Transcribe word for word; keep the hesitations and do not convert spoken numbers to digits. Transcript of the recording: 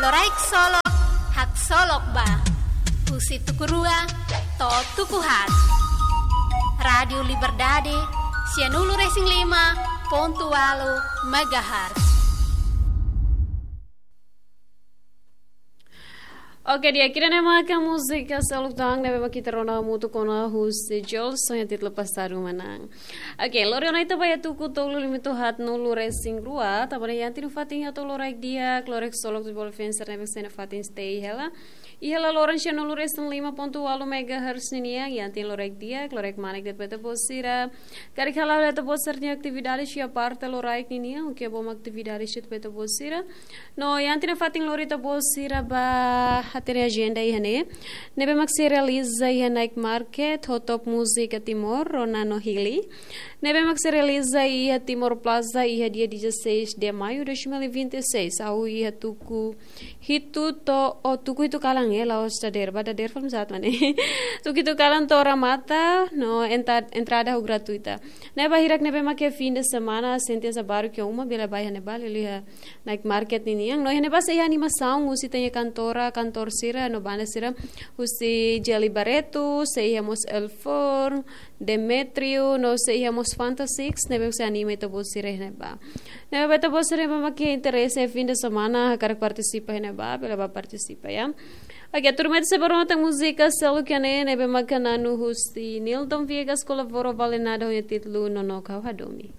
Loraik Solok, haksolok ba. Husi tuku rua to'o tuku haat. Rádiu Liberdade, sianulu-resin-lima pontu ualu megahertz. Oke, di'ak, ida-ne'e maka múzika seluk tan ne'ebé mak ita rona hamutuk ona husi Jolson, iha títulu Pasadu Manán. Oke, lori ona ita ba iha tuku tolu limitu haatnulu-resin-rua, tanba ne'e iha ita-nia fatin hato'o loraik di'ak, loraik solok Futebol Vencer ne'ebé sei iha ita-nia fatin stay hela. Iha laloran sianulu-resin-lima pontu ualu megahertz ninian, iha ita-nia loraik di'ak, loraik manek de'it ba ita-boot sira. Karik hala'o ita-boot sira-nia atividade iha parte loraik ninian, oke, bom atividade de'it ba ita-boot sira. No, iha ita-nia fatin lori ita-boot sira ba hatene ajenda iha ne'e. Ne'ebé mak sei realiza iha Night Market, ho top múzika Timor, Rona no Hili. Ne'ebé mak sei realiza iha Timor Plaza, iha dia dezasseis de maio de dois mil e vinte e seis, hahú iha tuku hitu to'o, o tuku hitu kalan, eh, la'ós dadeer, ba dadeer fali sat mane. Tuku hitu kalan to'o remata, no entra-, entrada ho gratuita. Ne'e ba hirak ne'ebé mak iha fim de semana, sente hanesan baru ke uma, bele ba iha ne'ebá, liuliu iha Night Market ninian. No iha ne'ebá sei iha animasaun husi ita-nia kantora, kantór sira, no banda sira, husi Jelly Barreto, sei iha mós El Forn, Demetrio, no sei iha mós Fanta Six, ne'ebé sei anima ita-boot sira iha ne'ebá. Ne'ebé ba ita-boot sira ne'ebé mak iha interese fim de semana, hakarak partisipa iha ne'ebá, bele ba partisipa, ya. Oke, tuirmai ita sei ba rona tan múzika seluk iha ne'e, ne'ebé mak na'an husi Nilton Viegas, kolabora Vale Nada, ho nia títulu Nonook Ha'u Hadomi.